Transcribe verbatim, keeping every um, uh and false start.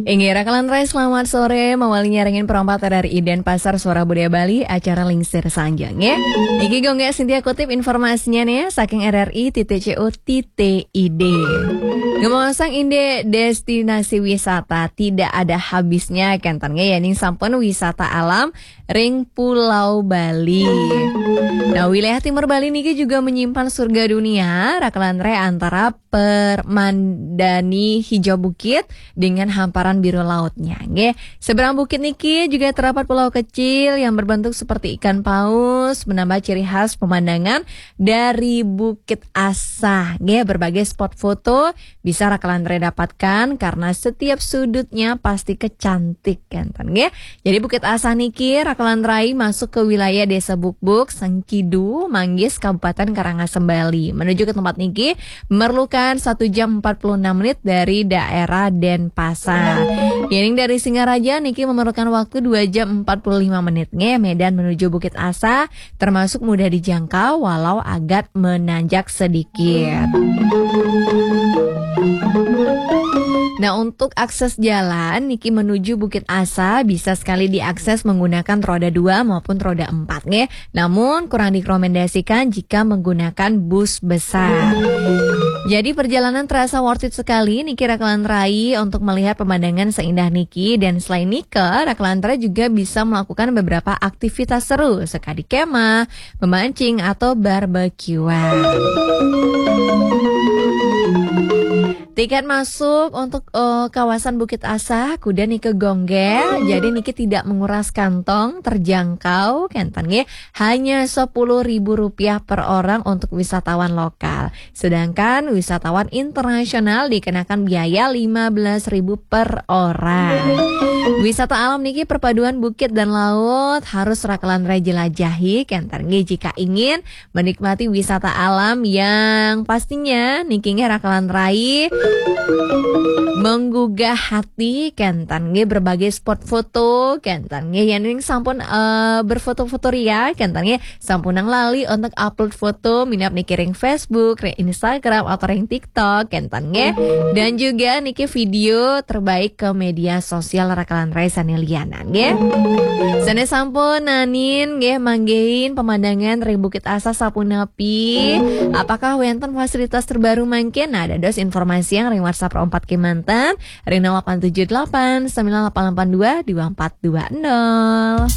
Inggih, Rakalan Rai, selamat sore. Mawali nyarengin perompat R R I Denpasar, Suara Budaya Bali, acara Lingsir Sanjang, ya. Niki Gongge Sintia kutip informasinya nih, saking R R I titik C O titik I D. Ngomong sang inde destinasi wisata tidak ada habisnya, kenten nggih, ya, ning sampun wisata alam ring Pulau Bali. Nah, wilayah timur Bali niki juga menyimpan surga dunia, Rakalan Rai, antara permandani hijau bukit dengan hamparan biru lautnya, nggih. Seberang bukit niki juga terdapat pulau kecil yang berbentuk seperti ikan paus, menambah ciri khas pemandangan dari Bukit Asa, nggih. Berbagai spot foto bisa Rakalan Rai dapatkan karena setiap sudutnya pasti kecantik, kenten, nggih. Jadi Bukit Asa niki, Rakalan Rai, masuk ke wilayah Desa Bukbuk, Sengkidu, Manggis, Kabupaten Karangasem, Bali. Menuju ke tempat niki memerlukan satu jam empat puluh enam menit dari daerah Denpasar. Yening dari Singaraja niki memerlukan waktu dua jam empat puluh lima menit, nggih. Medan menuju Bukit Asa termasuk mudah dijangkau walau agak menanjak sedikit. Nah, untuk akses jalan niki menuju Bukit Asa bisa sekali diakses menggunakan roda dua maupun roda empat, nggih. Namun kurang direkomendasikan jika menggunakan bus besar. Jadi perjalanan terasa worth it sekali niki, Rakalan Rai, untuk melihat pemandangan seindah niki. Dan selain niki, Rakalan Rai juga bisa melakukan beberapa aktivitas seru, sekadi kemah, memancing, atau barbekyuan. Tiket masuk untuk eh, kawasan Bukit Asa kuda niki Gongge, jadi niki tidak menguras kantong, terjangkau, kenten, nggih, hanya sepuluh ribu rupiah per orang untuk wisatawan lokal. Sedangkan wisatawan internasional dikenakan biaya lima belas ribu per orang. Wisata alam niki perpaduan bukit dan laut harus Rakalan Rai jelajahi, kenten, nggih, jika ingin menikmati wisata alam yang pastinya niki, nggih, Rakalan Rai, menggugah hati, kenten, nggih, berbagai spot foto, kenten, nggih, yen ning sampun eh, berfoto-foto ria, kenten, nggih, sampunang lali untuk upload foto minab niki ring Facebook, ring Instagram, atau ring TikTok, kenten, nggih. Dan juga niki video terbaik ke media sosial Rakalan Rai sane lianan, nggih. Sane sampun nanin, nggih, manggihin pemandangan ring Bukit Asa sapunapi. Apakah wenten fasilitas terbaru mangkin? Nah, dados informasi yang ring WhatsApp empat kemanten ring nol delapan tujuh delapan sembilan delapan delapan dua dua empat dua nol.